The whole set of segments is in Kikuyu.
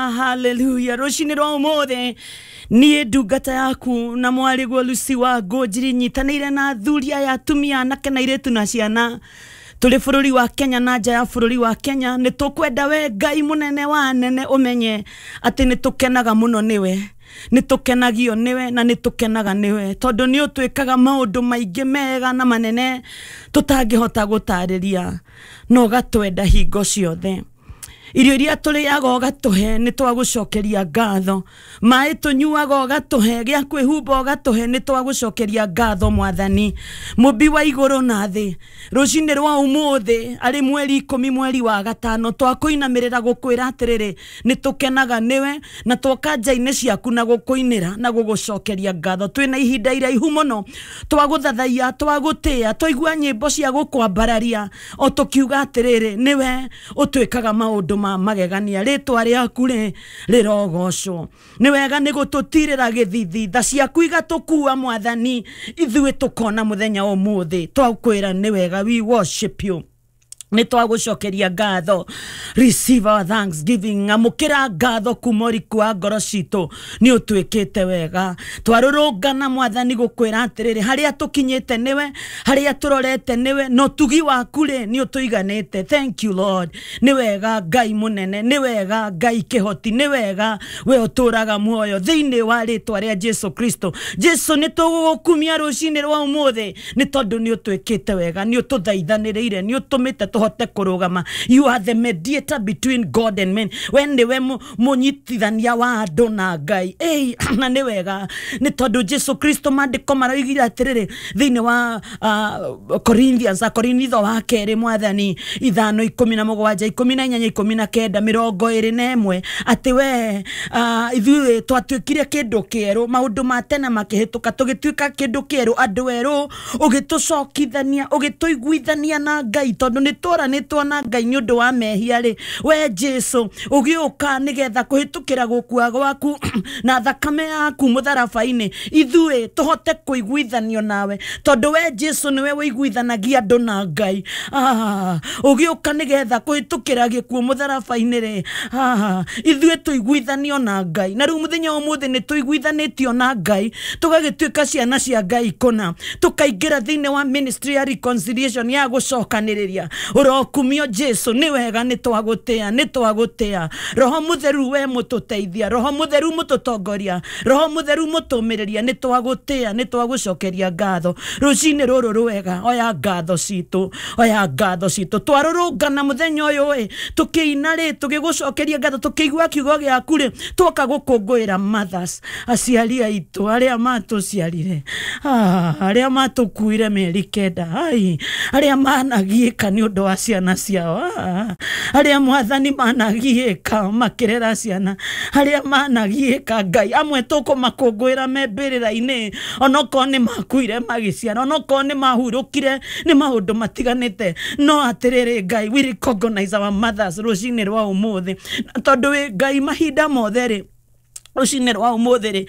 Hallelujah. Rũcinĩ rwa ũmũthĩ niĩ ndungata yaku na mwarĩguo Lucy wa Ngũnjiri nyitanĩire na athuri aya, atumia, anake na airĩtu na ciana tũrĩ bũrũri wa Kenya na nja ya bũrũri wa Kenya. Nĩ tũkwenda we Ngai mũnene wa anene ũmenye atĩ nĩ tũkenaga mũno nĩwe, nĩ tũkenagio nĩwe na nĩ tũkenaga nĩwe, tondũ nĩ ũtwĩkaga maũndũ maingĩ mega na manene tũtangĩhota gũtarĩria, na ũgatwenda hingo ciothe. Irio iria tũrĩaga ũgatũhe, nĩ twagũcokeria ngatho. Maĩ tũnyuaga ũgatũhe, gĩa kwĩhumba ũgatũhe, nĩ twagũcokeria ngatho Mwathani mũmbi wa igũrũ na thĩ. Rũcinĩ rwa ũmũthĩ arĩ mweri 10 mweri wa gatano, twakũinamĩrĩra gũkwĩra atĩrĩrĩ, nĩ tũkenaga nĩwe na twoka nja-inĩ ciaku na gũkũinĩra na gũgũcokeria ngatho. Twĩna ihinda iraihu mũno twagũthathaiya, twagũtĩĩa, twaigua nyĩmbo cia gũkwambararia o tũkiuga atĩrĩrĩ, nĩwe ũtwĩkaga maũndũ ma magegania, rĩtwa rĩaku rĩ rĩrogocwo. Nĩ wega nĩ gũtũtirĩra gĩthithi, tha ciaku igatũkua Mwathani, ithuĩ tũkona mũthenya ũmũthĩ. Twakwĩra nĩ wega, we worship you, nĩ twagũcokeria ngatho. Receive our thanksgiving, amũkĩra ngatho kuma ũriku wa ngoro citũ, nĩ ũtwĩkĩte wega. Twarũrũngana Mwathani gũkwĩra atĩrĩrĩ, harĩa tũkinyĩte nĩwe, harĩa tũrorete nĩwe, na ũtugi waku rĩ nĩ ũtũiganĩte. Thank you, Lord. Nĩ wega Ngai mũnene, nĩ wega Ngai kĩhoti, nĩ wega we ũtũraga muoyo thĩinĩ wa rĩtwa rĩa Jesu Kristo. Jesu, nĩ tũgũgũkumia rũcinĩ rwa ũmũthĩ nĩ tondũ nĩ ũtwĩkĩte wega, nĩ ũtũthaithanĩrĩire, nĩ ũtũmĩte tũhote kũrũgama. You are the mediator between God and men. We nĩwe mũnyitithania wa andũ na Ngai. Ei, na nĩ wega nĩ tondũ Jesu Kristo, maandĩko maroigire atĩrĩrĩ thĩinĩ wa Corinthians, Akorinitho wa kerĩ, Mwathani, 5:17, 18, 19, 21, atĩ we ithuĩ twatuĩkire kĩndũ kĩerũ, maũndũ ma tene makĩhĩtũka, tũgĩtuĩka kĩndũ kĩerũ, andũ erũ, ũgĩtũcokithania, ũgĩtũiguithania na Ngai, tondũ nĩ tworanĩtwo na Ngai nĩ ũndũ wa mehia rĩ, we Jesu ũgĩũka nĩgetha kũhĩtũkĩra gũkua gwaku na thakame yaku mũtharaba-inĩ ithuĩ tũhote kũiguithanio nawe, tondũ we Jesu nĩwe ũiguithanagia andũ na Ngai. Ũgĩũka nĩgetha kũhĩtũkĩra gĩkuũ mũtharaba-inĩ rĩ, ithuĩ tũiguithanio na Ngai. Na rĩu mũthenya wa ũmũthĩ nĩ tũiguithanĩtio na Ngai, tũgagĩtuĩka ciana cia Ngai kũna, tũkaingĩra thĩinĩ wa ministry ya reconciliation, ya gũcokanĩrĩria. Ũrokumio Jesu, nĩ wega, nĩ twagũtĩa, nĩ twagũtĩa. Roho Mũtheru, we mũtũteithia, Roho Mũtheru mũtũtongoria, Roho Mũtheru mũtũmĩrĩria, nĩ twagũtĩa, nĩ twagũcokeria ngatho rũcinĩ rũrũ rwega. Oya ngatho citũ, oya ngatho citũ. Twarũrũngana mũthenya ũyũ ĩ, tũkĩina rĩ, tũgĩgũcokeria ngatho, tũkĩigua kiugo gĩaku rĩ, twoka gũkũngũĩra mothers, aciari aitũ arĩa matũciarire, arĩa matũkuire mĩeri 9, ai, arĩa managiĩka nĩ ũndũ wa ciana ciao, arĩa Mwathani managiĩka makĩrera ciana, arĩa managiĩka Ngai. Amwe tũkũmakũngũĩra me mbĩrĩra-inĩ, onokorwo nĩ makuire magĩciara, onokorwo nĩ mahurũkire nĩ maũndũ matiganĩte, no atĩrĩrĩ Ngai, we recognize our mothers rũcinĩ rwa ũmũthĩ, na tondũ wĩ Ngai mahinda mothe rĩ, rũcinĩ rwa ũmũthĩ rĩ,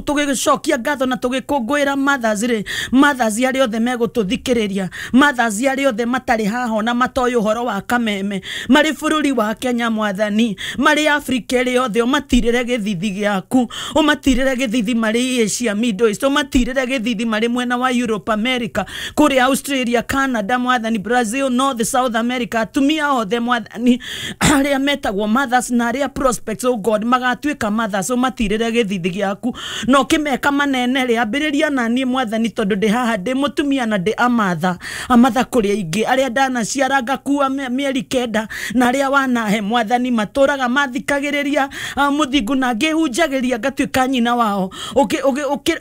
tũgĩcokia ngatho na tũgĩkũngũĩra mothers rĩ, mothers arĩa othe megũtũthikĩrĩria, mothers arĩa othe matarĩ haha ona matoĩ ũhoro wa kameme, marĩ bũrũri wa Kenya, Mwathani, marĩ Afrika ĩrĩ yothe, ũmatirĩre gĩthithi gĩaku, ũmatirĩre gĩthithi marĩ Asia, Middle East, ũmatirĩre gĩthithi marĩ mwena wa Europe, America, kũrĩa Australia, Canada, Mwathani, Brazil, North, South America, atumia othe, Mwathani, arĩa metagwo mothers na arĩa prospects, oh God, magatuĩka mothers, ũmatirĩre gĩthithi gĩaku na ũkĩmeka manene rĩ, ambĩrĩria na niĩ, Mwathani, tondũ ndĩ haha ndĩ mũtumia na ndĩ amatha amatha kũrĩ aingĩ arĩa ndanaciara ngakua mĩeri 9, na arĩa wanahe, Mwathani, matũraga mathikagĩrĩria mũthingu na ngĩhunjagĩria ngatuĩka nyina wao.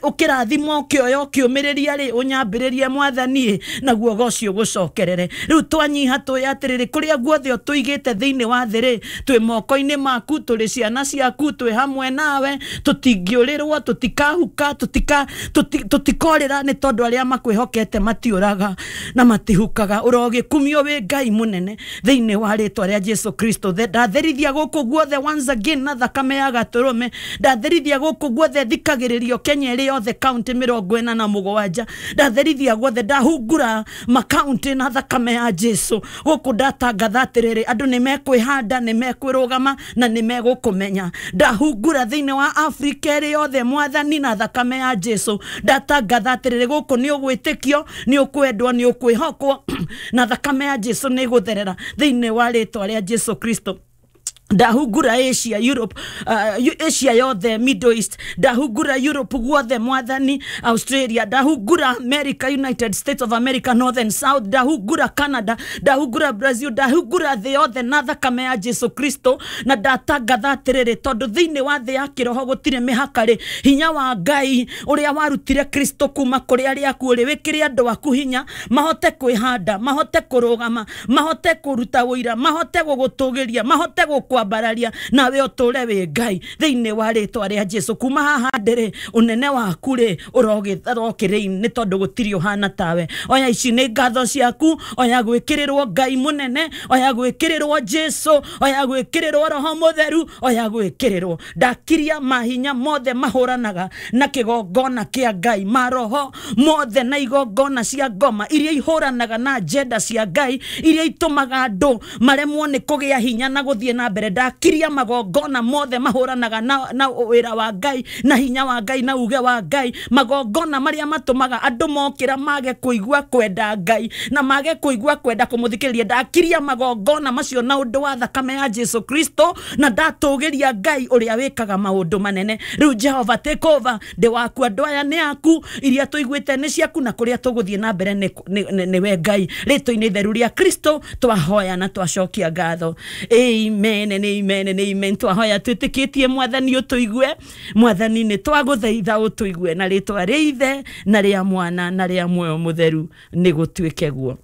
Ũkĩrathima, ũkĩoya, ũkĩũmĩrĩria rĩ, ũnyambĩrĩrie, Mwathani, naguo ũgoci ũgũcokerere. Rĩu twanyiha tũĩ atĩrĩrĩ, kũrĩa guothe ũtũigĩte thĩinĩ wa thĩ rĩ, twĩ moko-inĩ maku, tũrĩ ciana ciaku, twĩ hamwe. hamwe nawe, tũtingĩũrĩrwo, tũtikahuka, tũtikorĩra, nĩ tondũ arĩa makwĩhokete matiũraga na matihukaga. Ũrogĩkumio wĩ Ngai mũnene thĩinĩ wa rĩtwa rĩa Jesu Kristo. Ndatherithia gũkũ guothe once again na thakame ya gatũrũme, ndatherithia gũkũ guothe thikagĩrĩrio Kenya ĩrĩ yothe kaunti 47, ndatherithia guothe, ndahungura makaunti na thakame ya Jesu. Gũkũ ndatangatha atĩrĩrĩ, andũ nĩ mekwĩhanda, nĩ mekwĩrũgama na nĩ megũkũmenya. Ndahungura thĩinĩ wa Afrika ĩrĩ yothe Mwathani na thakame ya Jesu. Ndatangatha atĩrĩrĩ, gũkũ nĩ ũgwĩtĩkio, nĩ ũkwendwo, nĩ ũkwĩhokwo na thakame ya Jesu nĩ ĩgũtherera thĩinĩ wa rĩtwa rĩa Jesu Kristo. Ndahungura Asia, Europe, Asia yothe, Middle East, ndahungura Europe guothe Mwathani, Australia, ndahungura America, United States of America, North and South, ndahungura Canada, ndahungura Brazil, ndahungura thĩ yothe na thakame ya Jesu Kristo. Na ndatangatha atĩrĩrĩ, tondũ thĩinĩ wa thĩ ya kĩroho gũtirĩ mĩhaka rĩ, hinya wa Ngai ũrĩa warutire Kristo kuma kũrĩ arĩa akuũ rĩ, wĩkĩre andũ aku hinya mahote kwĩhanda, mahote kũrũgama, mahote kũruta ũira, mahote gũgũtũgĩria, mahote gũkwambararia, nawe ũtũre wĩ Ngai thĩinĩ wa rĩtwa rĩa Jesu. Kuma haha ndĩrĩ, ũnene waku rĩ ũrokĩrĩ, nĩ tondũ gũtirĩ ũhana tawe. Oya ici nĩ ngatho ciaku, oya gwĩkĩrĩrwo Ngai mũnene, oya gwĩkĩrĩrwo Jesu, oya gwĩkĩrĩrwo Roho Mũtheru, oya gwĩkĩrĩrwo. Ndakiria mahinya mothe mahũranaga na kĩgongona kĩa Ngai, maroho mothe na igongona cia ngoma iria ihũranaga na agenda cia Ngai, iria itũmaga andũ maremwo nĩ kũgĩa hinya na gũthiĩ na mbere. Ndakiria magongona mothe mahũranaga na wĩra wa Ngai na hinya wa Ngai na uge wa Ngai, magongona marĩa matũmaga andũ mokĩra mage kũigua kwenda Ngai na mage kũigua kwenda kũmũthikĩrĩria. Ndakiria magongona macio na ũndũ wa thakame ya Jesu Kristo, na ndatũgĩria Ngai ũrĩa wĩkaga maũndũ manene. Rĩu Jehova take over, ndĩ waku, andũ aya nĩ aku, iria tũiguĩte nĩ ciaku, na kũrĩa tũgũthiĩ na mbere nĩ we Ngai. Rĩtwa-inĩ itheru rĩa Kristo twahoya na twacokia ngatho. Amen and amen and amen. Twahoya twĩtĩkĩtie Mwathani ũtũigue. Mwathani nĩ twagũthaitha ũtũigue, na rĩtwa rĩa Ithe na rĩa Mwana na rĩa Muoyo Mũtheru nĩ gũtuĩke guo.